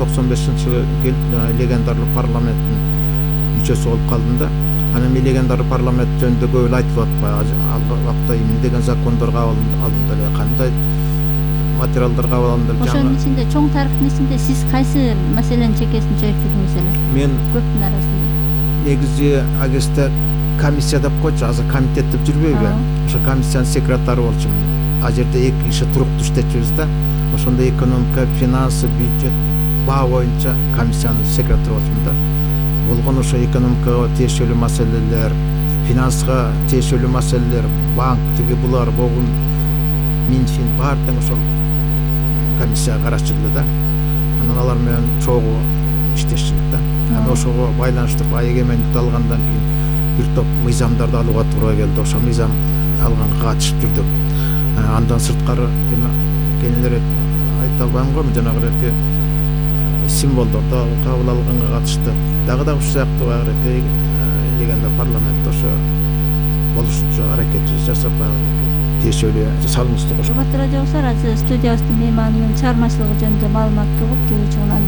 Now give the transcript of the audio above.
95-жылы келип легендарлуу парламенттин мүчөсү болуп калдым да. Анан мен легендарлуу парламент жөнүндө көп эле айтылып атпайбы. Ал убакта эмне деген закондор кабыл алынды эле, кандай материалдар кабыл алынды эле. Ошонун ичинде чоң тарыхтын ичинде сиз кайсы маселенин чекесин чечтиңиз эле? Мен көптүн арасында. Негизи агесте комиссия деп койчу, азыр комитет деп жүрбөйбү? Ошо комиссиянын секретары болчумун. А жерде 2 киши туруктуу иштечүбүз да. Ошондо экономика, финансы, бюджет, баа боюнча комиссиянын секретары болчумун да. Болгон ошо экономикага тиешелүү маселелер, финанска тиешелүү маселелер, банк тиги булар болгон Минфин бар тең ошол комиссияга карашчу эле да. Анан алар менен чогуу иштешчү да. Анан ошого байланыштуу эгемендикти алгандан кийин бир топ мыйзамдарды алууга туура келди. Ошо мыйзам алганга катышып жүрдүк. Андан сырткары кенелер айта албайм го, жанагы символдорду кабыл алганга катышты. Дагы ушул сыяктуу баягы легенда парламентте ошо болушунча аракет жасап тиешелүү салымыбызды коштук. Батыр радиосу студиябыздын мейманынын чыгармачылыгы жөнүндө маалымат угуп, кийинчи унан